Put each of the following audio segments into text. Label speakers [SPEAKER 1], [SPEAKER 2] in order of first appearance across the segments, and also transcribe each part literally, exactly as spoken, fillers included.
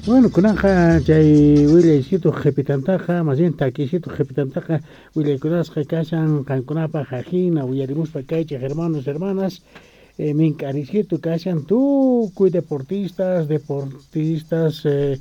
[SPEAKER 1] Bueno, kunanqa chay willaysitu qhipitantaqa, más bien takisitu qhipitantaqa willaykunasqa kashan qankunapaq ajina uyarimuspa kaychej hermanos, hermanas, eh, mink'arisitu kashan tukuy deportistas, deportistas eh,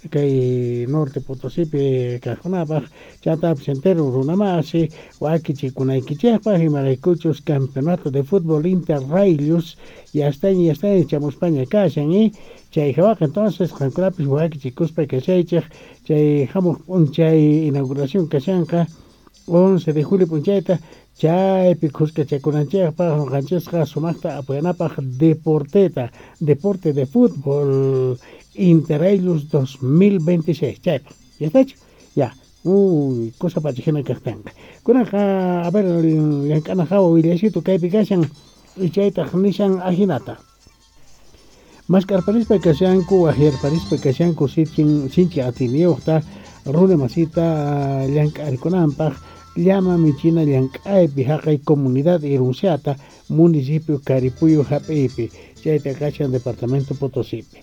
[SPEAKER 1] kay Norte Potosipi kaqkunapaq chantapis entero runamasi wakichikunaykichikpaq imaraykuchus campeonato de fútbol Interrailius yastaña yastaña chamuspaña kashan eh chay hawaqa entonces qankunapis wakichikuspa kashaychik chay hamuq p'unchay inauguración kashanqa once de julio p'unchayta chaypi khuskachakunanchikpaq ñuqanchisqa sumaqta apoyanapaq deporteta deporte de fútbol Interrailius dos mil veintiséis chaypaq ya estachu ya uy cosa pacha hina kaqtinqa kunanqa a ver llank'ana hawa willaysitu kaypi kashan chaytaq nishan ajinata mask'arparispa kashanku waqyarparispa kashanku sichin sinchi atiyniyuqta runa masita llank'arikunanpaq llama michina llank'aypi haqay comunidad Irunsiata municipio Caripuyo hap'iypi chayta kashan departamento Potosipi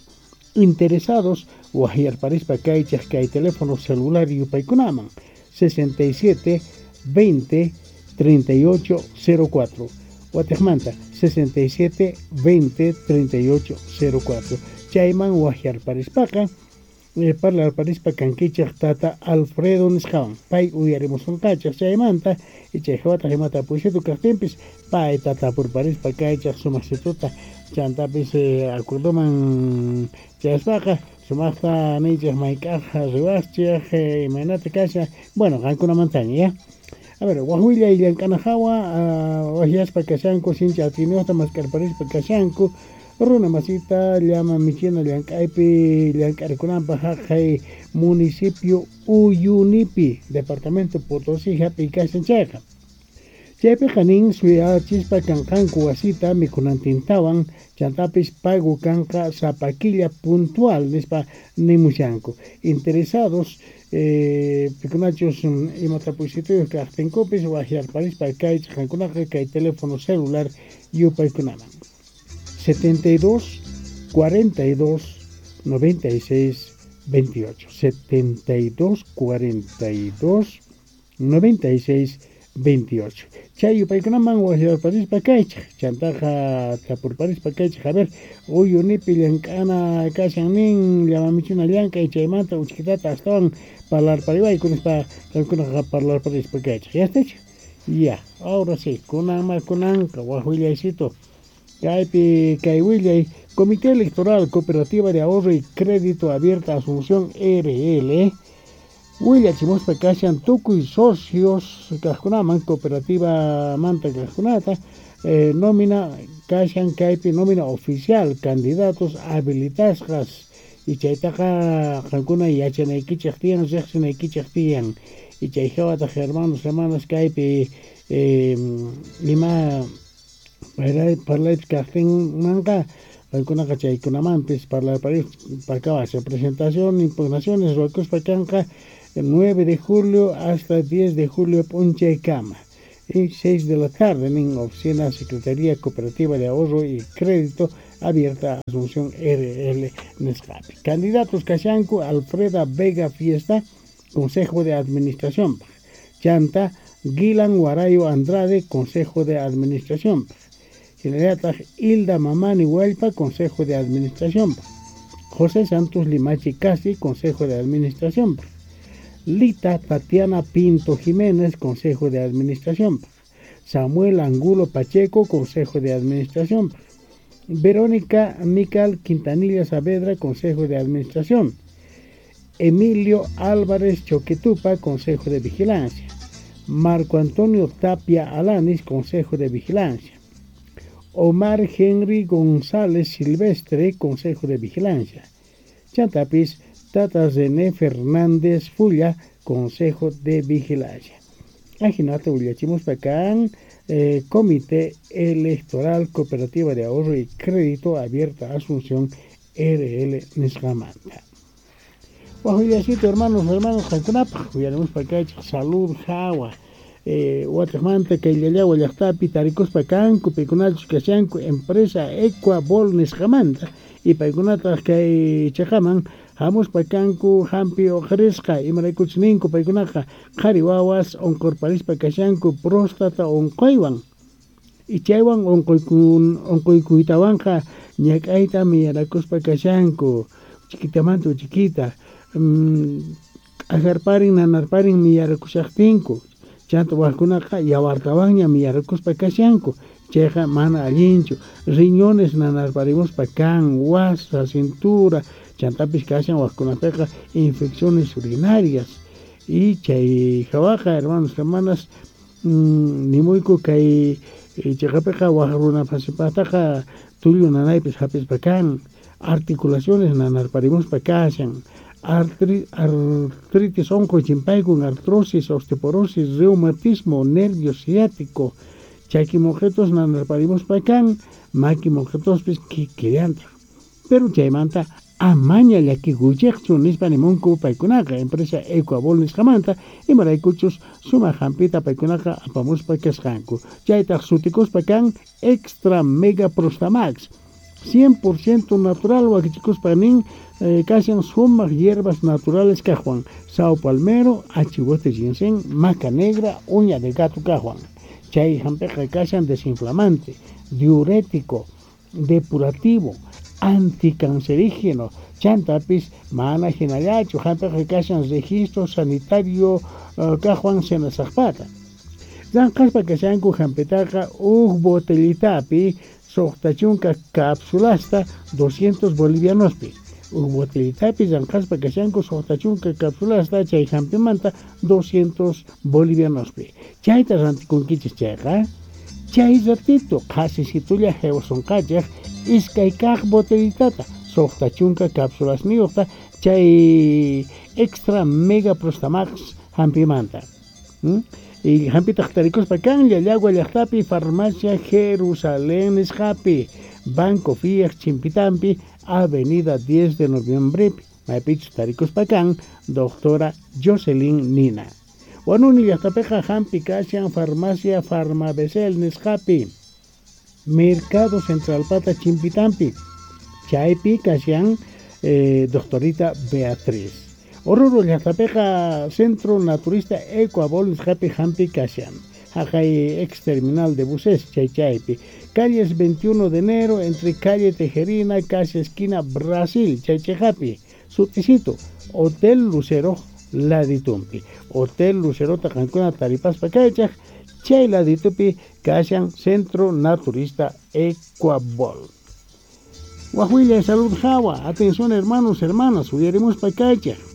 [SPEAKER 1] interesados waqyarparispa kaychaq kay teléfono celular yupaykunaman sesenta y siete veinte treinta y ocho cero cuatro Watejmanta sesenta y siete veinte treinta y ocho cero cuatro chayman waqyarparispaqa eh, parlarparispa kankichaq tata Alfredo nisqawan pay uyarimusunqachaq chaymanta y chay hawataq imata puysitu kaqtinpis pay tatapurparispa kaychaq sumaqsituta chantapis eh, acuerdoman chayaspaqa sumaqta niychaq mayk'aq riwaqchik eh, imaynata kasha bueno qankunamantaña ya a ver waq willay llank'ana hawa uh, waqyaspa kashanku sinchi atiyniyuqta mask'arparispa kashanku runa masita llama michina llank'aypi llank'arikunanpaq haqay municipio Uyunipi departamento Potosí hap'iy kashan chayqa chaypiqa nin suyachispa kanqanku wasita mikhunantintawan chantapis pago kanqa sapa killa puntual nispa nimushanku interesados eh, pikunachus imatapuysituyuq kaqtinkupis waqyarparispa kaychaq qankunaqa kay teléfono celular yupaykunaman setenta y dos cuarenta y dos noventa y seis veintiocho setenta y dos cuarenta y dos noventa y seis veintiocho chay yupaykunaman waqyarparispa kaychaq chantaqa tapurparispa kaychaq a ver Uyunipi llank'ana kashan nin llamamichina llank'ay chaymanta uchkitata astawan parlarpariwayku nispa qankunaqa parlarparispa kaychaq ya estachu ya ahora sí kunanma kunanqa waq willaysitu kaypi kay willay Comité Electoral Cooperativa de Ahorro y Crédito Abierta Asunción R L willachimuspa kashan tukuy socios kaqkunaman cooperativa manta kaqkunata eh, nómina kashan kaypi nómina oficial candidatos habilitasqas y chaytaqa qankuna yachanaykichik tiyan riqsinaykichik tiyan y chay hawataq hermanos hermanas kaypi eh, ima parlaypis kaqtinmanqa qankunaqa chaykunamanpis parlarparispa presentación impugnaciones ruwakuspa kanqa nueve de julio hasta diez de julio p'unchaykama y seis de la tarde en oficina Secretaría Cooperativa de Ahorro y Crédito Abierta Asunción R L nisqapi candidatos kashanku Alfreda Vega Fiesta Consejo de Administración chanta Guilan Guarayo Andrade Consejo de Administración Hinallataq Hilda Mamani Hualpa Consejo de Administración José Santos Limachi Casi Consejo de Administración Lita Tatiana Pinto Jiménez Consejo de Administración Samuel Angulo Pacheco Consejo de Administración Verónica Mical Quintanilla Saavedra Consejo de Administración Emilio Álvarez Choquetupa Consejo de Vigilancia Marco Antonio Tapia Alanis Consejo de Vigilancia Omar Henry González Silvestre Consejo de Vigilancia Chantapis Tata René Fernández Fulla Consejo de Vigilancia Ajinata willachimuspa kan eh, Comité Electoral Cooperativa de Ahorro y Crédito Abierta Asunción R L nisqamanta waq willasito hermanos hermanos qankunapaq willarimuspa kaychik salud hawa eh, watejmanta kay Llallagua llaqtapi tarikuspa kanku paykunachus kashanku empresa Ecuabol nisqamanta y paykunataq kay chaqaman hamuspa kanku hampi uqrisqa imaraykuchus ninku paykunaqa qhari wawas unqurparispa kashanku próstata unquywan y chaywan unquykun unquykuytawanqa ñak'ayta miyarakuspa kashanku chiquitamanta chiquita k'ajarparin nanarparin miyarakushaqtinku chanta wajkunaqa yawartawanña miyarakuspa kashanku chayqa mana allinchu riñones nanarparimuspa kan wasa cintura chantapis kashan wajkunapiqa infecciones urinarias y chay hawaqa hermanos hermanas nimuyku kay chayqapiqa waj runapasipaqtaqa tullu nanaypis hapispa kan articulaciones nanarparimuspa kashan artri, artritis unquy chimpaykun artrosis osteoporosis reumatismo nervio ciático chaki moqetos nanarparimuspa kan maki moqetospis kikillantaq pero chaymanta amaña llakikuychikchu nispa nimunku paykunaqa empresa Ecuabol nisqamanta imaraykuchus sumaq hampita paykunaqa apamuspa kasqanku chaytaq sutikuspa kan Extra Mega Prostamax cien por ciento natural wakichikuspa nin eh, kashan sumaq hierbas naturales kajwan sao palmero, achihuete ginseng, maca negra, uña de gato kajwan chay hampiqa kashan desinflamante, diurético, depurativo, anticancerígeno, chantapis mana hinallachu hampiqa kashan registro sanitario uh, kajwan senasaqpata llanqaspa kashanku hampitaqa uj botellitapi suqta chunka cápsulasta doscientos bolivianospi uj botellitapi llanqaspa kashanku suqta chunka cápsulasta chay hampimanta doscientos bolivianospi chayta rantikunkichis chayqa chay ratito qhasisitulla haywasonqachej iskay kaq botellitata suqta chunka cápsulasniyuqta chay Extra Mega Prostamax hampimanta ¿Mm? Y hampitaq tarikuspa kan Llallagua llaqtapi farmacia Jerusalén nisqapi Banco Fiat Chimpitampi Avenida diez de Noviembre maypichus tarikuspa kan doctora Jocelyn Nina Wanuni llaqtapiqa hampi kashan farmacia Farmabesel nisqapi Mercado Central Pata Chimpitampi chaypi kashan eh, doctorita Beatriz Oruro llaqtapiqa Centro Naturista Ecuabol nisqapi hampi kashan haqay ex terminal de buses chay chaypi calles veintiuno de enero entre calle Tejerina casi esquina Brasil chay chayhapi sutisito Hotel Lucero laditumpi Hotel Lucero qankuna taripaspa kaychaq chay laditupi kashan Centro Naturista Ecuabol. Wahuilla Salud Jawa, atención hermanos, hermanas, uyarimuspa kaychaq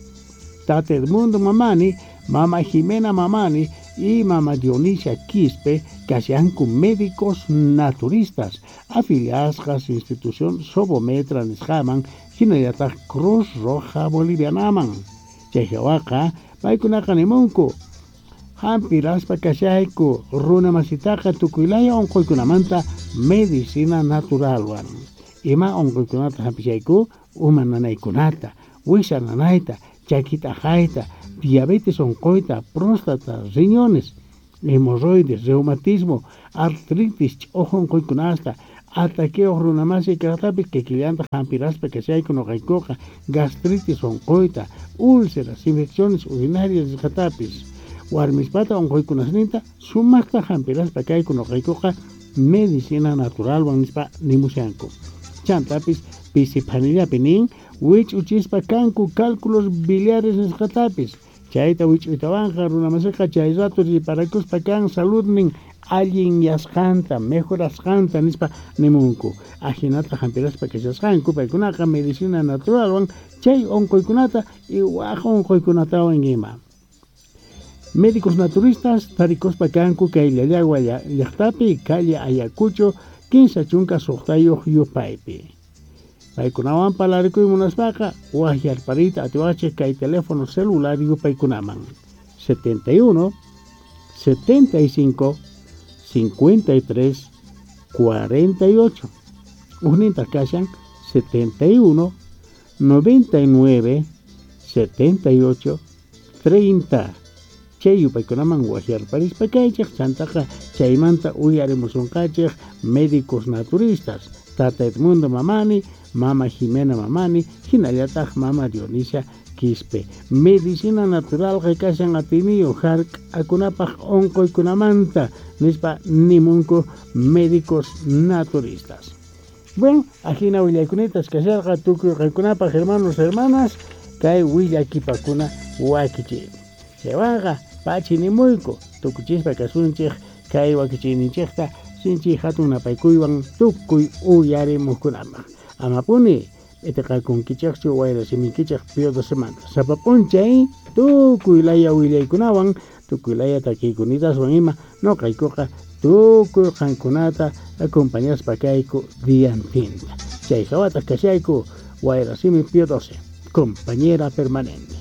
[SPEAKER 1] Tata Edmundo Mamani, Mama Jimena Mamani y Mama Dionisia Quispe, kashanku médicos naturistas, afiliadas institución Sobometra nisqaman, hinallataq Cruz Roja Bolivianaman. Chay hawaqa paykunaqa nimunku hampiraspa kashayku runa masitaqa tukuylaya unquykunamanta medicina naturalwan. Ima unquykunata hampishayku uma nanaykunata, wisa nanayta, chakita jayta, diabetes unquyta, próstata, riñones, hemorroides, reumatismo, artritis, ch'uju unquykunasta, ataqueo runamasi kaqtapis kikillanta hampiraspa kashayku nuqaykuqa, gastritis unquyta, úlceras, infecciones urinarias nisqatapis, warmispata unquykunasninta sumaqta hampiraspa kayku nuqaykuqa medicina naturalwan nispa nimushanku. Chantapis pisipanillapi nin wich'uchispa kanku cálculos biliares nisqatapis chayta wich'uytawanqa runamasiqa chay rato riparakuspa kan saludnin allinyasqanta mejorasqanta nispa nimunku ajinata hampiraspa kashasqanku paykunaqa medicina naturalwan chay unquykunata y waj unquykunatawan ima. Médicos naturistas tarikuspa kanku kay Llallagua llaqtapi calle Ayacucho kinsa chunka suqtayuq yupaypi. Paykunawan parlarikuy munaspaqa wajyarparita atiwachej kay teléfono celular yupaykunaman setenta y uno, setenta y cinco, cincuenta y tres, cuarenta y ocho. Ujnintaj kashan setenta y uno, noventa y nueve, setenta y ocho, treinta. Chay yupaykunaman wajyarparispa kaychej chantaqa chaymanta uyarimusunqachej médicos naturistas Tata Edmundo Mamani, Mama Jimena Mamani, hinallataq Mama Dionisia Quispe. Medicina naturalqa kashan atiniyo hark'akunapaq unquykunamanta nispa nimunku médicos naturistas. Bueno, ajina willaykunatas kasharqa tukuy qankunapaq hermanos hermanas kay willakipakuna wakichiymi. Chaywanqa pachi nimuyku tukuchispa kasunchik kay wakichiyninchikta sinchi hatun napaykuywan tukuy uyarimuqkunapaq. Amapuni itiqakunkichikchu wayrasimiykichik Pío docemanta. Sapa p'unchay tukuy laya willaykunawan tukuy laya takiykunidaswan ima noqaykuqa tukuy qankunata acompañaspa kayku diantinta. Chay hawataq kashayku Wayrasimi Pío doce, compañera permanente.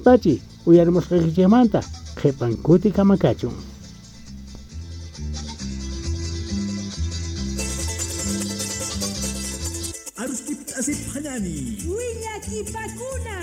[SPEAKER 1] Pachi, uyarimusqaykichikmanta qhipan kuti kamakachun.
[SPEAKER 2] Arustip asip hanani.
[SPEAKER 3] Willakipakuna.